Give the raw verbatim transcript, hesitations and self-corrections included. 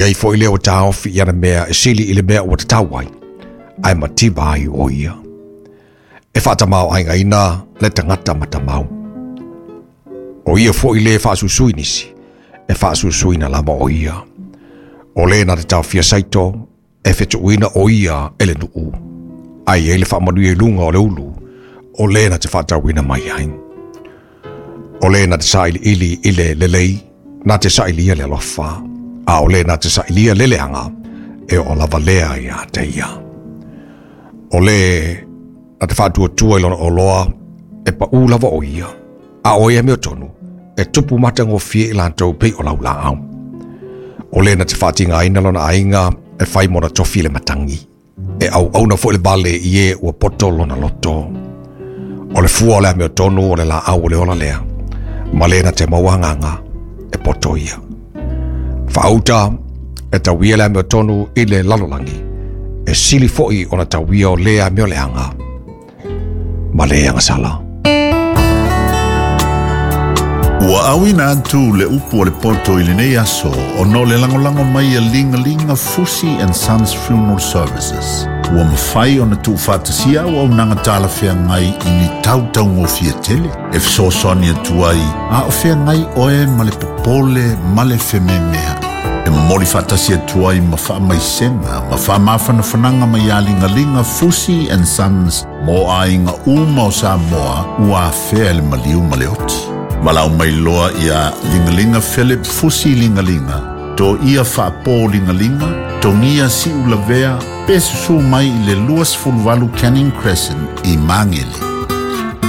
Ai foʻi lea ua taofi i ana mea e sili i le mea ua tatau ai, ae mativa ai o ia. E faatamāoʻaigaina le tagata matamau. O ia foʻi lē faasuisui nisi, e faasuisuina lava o ia. O lē na te taofia saito, e fetuʻuina o ia e le nuu. Ai ai le faamanuia i luga o le ulu, o lē na te faatauina mai ai. O lē na te sailiili i le lelei, na te sailia le alofa. A o lē na te sailia le leaga, e oo lava lea ia te ia. O lē na te faatuatua i lona oloa, e paʻū lava o ia. A o ia amiotonu, e tupu matagofie i latou pei o laulaau. O lē na te faatigaina lona aiga e fai mona tofi le matagi. E auauna foʻi le vale i e ua poto lona loto. O le fua o le amiotonu o le laau o le ola lea. Ma le na te maua agaga e poto ia. Faauta e tauia le amiotonu i le lalolagi. E sili foʻi ona tauia o le amio leaga. Ma le agasala. Ua auina atu le upu o le poto i lenei aso o no le lagolago mai a Ligalia Fusi and Sons Funeral Services. Ua mafai ona tuufaatasia auaunaga talafeagai i ni tautaugofie tele. E fesoasoani atu ai a o feagai oe ma le popole ma le fememeaʻi. E momoli faatasi atu ai ma faamaisega ma faamafanafanaga mai ia Ligaliga Fusi and Sons mo aiga uma o Samoa ua afea le maliu ma le oti. Valaau mai loa ia Ligaliga Philip Fusi Ligaliga, to ia faapo Ligaliga, Togia Siulavea, pe susu mai i le luasefuluvalu Canning Crescent i Magele.